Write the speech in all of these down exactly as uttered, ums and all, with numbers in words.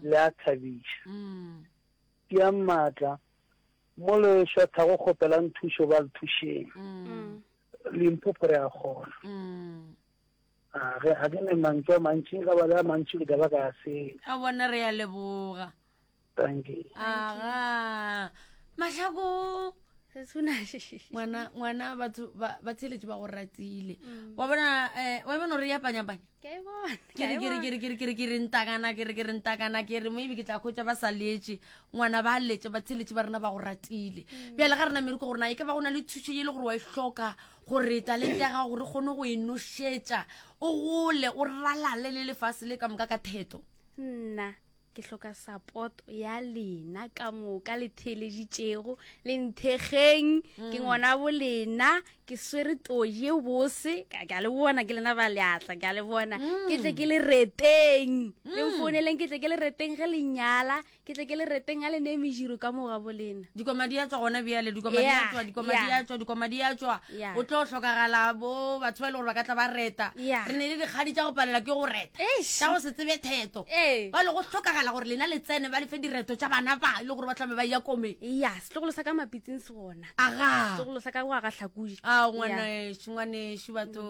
Le a thabiša. Tiang maatla, mo le šwathago kgopelang thušo ba le thušeng. Limpopo re a kgona. A ge ga ke ne mantšu a mantši, nka ba le a mantši ke tla ba ka a senya. A bona re a leboga. Thank you. Aga. Mahlako. Ngwana ngwana batho ba ba tsheletše ba go ratile. Wa bona eh wa bona re ya panya panya. Ke a e bona. Ke re ke re ke re ke re ke re ke re ntakana ke re ke re ntakana ke re maybe ke tla khotsa ba sa letše ngwana ba letše ba tsheletše ba rena ba go ratile. Bjale ga rena mereko gore na e ka ba go na le thušo ye le gore wa e hloka gore talente ya gago re kgone go e nošetša o gole o ralale le lefase le ka moka ka theto. Nna ke hloka support ya lena ka moka le theeleditšego le nthekgeng ke ngwana bo lena ke swere toji e bose ka ke a le bona ke lena ba leatla ke a le bona ke tle ke le reteng le mfouneleng ke tle ke le reteng ge le nyala ke tle ke le reteng a le nee mejiro ka mo ga bo lena. Dikoma di a tšwa gona bjale, dikoma di a Yeah, tšwa, dikoma di a yeah. tšwa, dikoma di a tšwa. Yeah. O tlo hlokagala bo batho ba e le gore ba ka tla ba reta. Yeah. Re ne le dikgadi tša go palela ke go reta. Eish. Tša go se tsebe theto. Ee. Ba le go hlokagala gore lena le tsene ba le fe direto tša bana ba e le gore ba tlame ba ya komeng. Ya, setlogolo sa ka Mapitsing se gona. Aga. Setlogolo sa ka go aga Hlakudi. A ngwanešu, ngwanešu batho.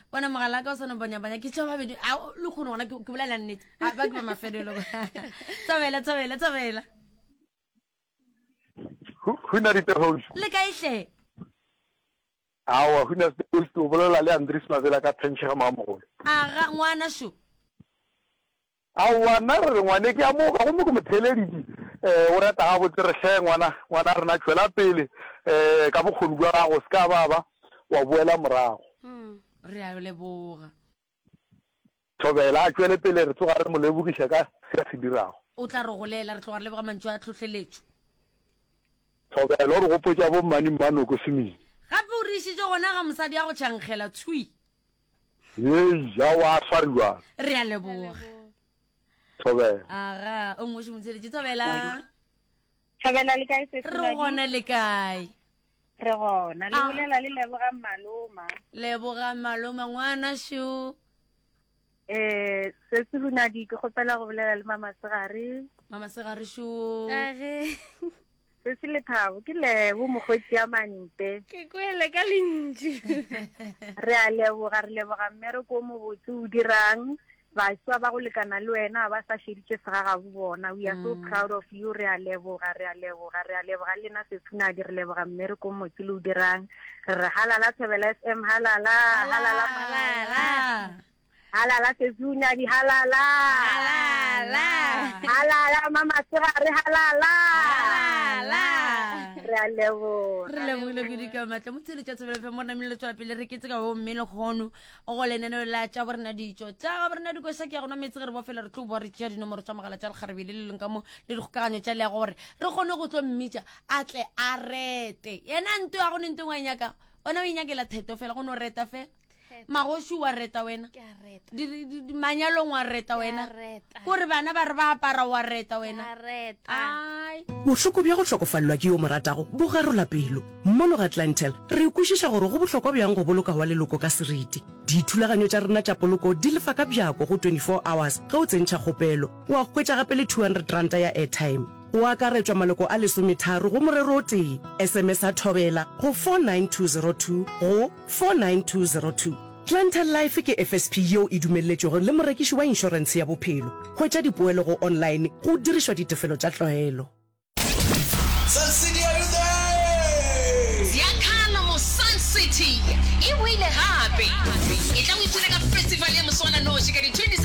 Bona mogala ka o sa no banyabanya ke tša babedi. A le kgone gona ke ke bolela nnete. A ba ke ba mafelelo. Thobela, thobela, thobela. Huna ditehoši. Le kae hle? Aowa, huna ditehoši, o bolela le Andries Mabela ka Phentšhega Mamogolo. Aga, ngwana šo. Aowa, nna re re ngwane ke a moka gomme ke mo theeleditše. Eh, o reta gabotse re hle ngwana, ngwana rena tšwela pele eh ka bokgoni bja gago, se ka ba ba wa boela morago. Re a leboga. Thobela a tšwele pele, re tloga re mo lebogiša ka se a se dirago. O tla re golela, re tloga re leboga mantšu a tlhohleletšo. Thobela o re gopotša bo mmane Mmanoko Semini. Gape o re išitše gona ga mosadi a go tšhankgela thwi. Hei, aowa a swariwa. Re a leboga. Thobela. Aga, o mmoši motheletši. Thobela. Thobela le kae sesi? Re gona le kae? Re gona. Le Ah. bolela le Leboga Maloma. Leboga Maloma ngwana šo. Eh, sesi Hunadi ke kgopela go bolela le Mama Segare. Mama Segare šo. Age. Sesi Lethabo ke Lebo mokgweetsi ya Mante. Ke kwele ka lentšu. Re a leboga, re leboga mmereko o mobotse o dirang. Baswa ba go lekana le wena ba sa šeditše segagabo bona. We are so Mm. proud of you. Re a leboga, re a leboga, re a leboga le lena sesi Hunadi, re leboga mmereko o mobotse le o dirang. Re re halala Thobela F M, halala, halala, halala. Halala sesi Hunadi, halala. Halala. Halala Mama Segare, halala. Halala. Re a leboga. Re lebogile kudu ka matla. Motheeletši wa Thobela F M, mo namile le tswela pele re ketse ka bo mme lekgono go lenaneo la tša borena ditšo. Tša ga borena dikoša ke ya go nwa meetse ge re bofela re tlo boa re tšea dinomoro tša mogala tša lekgarebe le le leng ka mo le dikgokaganyo tša leago gore re kgone go tlo mmitša a tle a rete. Yena nto ya go ne nto e ngwe a e nyakago. Ona o e nyakela theto fela go no reta fela. Magoši wa reta wena. Ke a reta. Di, di, di, di, manyalong wa reta Ke a wena. reta. Kore bana ba re ba apara wa reta wena. Ke a reta. Ai. Bohloko bja go hlokofalelwa ke yo mo ratago bo garola pelo. Mono ga Clientele re kwešiša gore go bohlokwa bjang go boloka wa leloko ka seriti. Dithulaganyo tša rena tša poloko di lefa ka bjako go twenty-four hours ge o tsentšha kgopelo. Wa hwetša gape le two hundred ranta ya airtime. Go akaretšwa maloko a lesometharo go morero o tee. S M S a Thobela go four nine two zero two go four nine two zero two. Clientele Life ke F S P yeo e dumelletšwego le morekiši wa inšorentshe ya bophelo. Hwetša dipoelo go online go dirišwa ditefelo tša tlwaelo. Sun City, are you there? Ziakhala mo Sun City e boile gape. E tla go ipshina ka festival ya moswananoši ka di twenty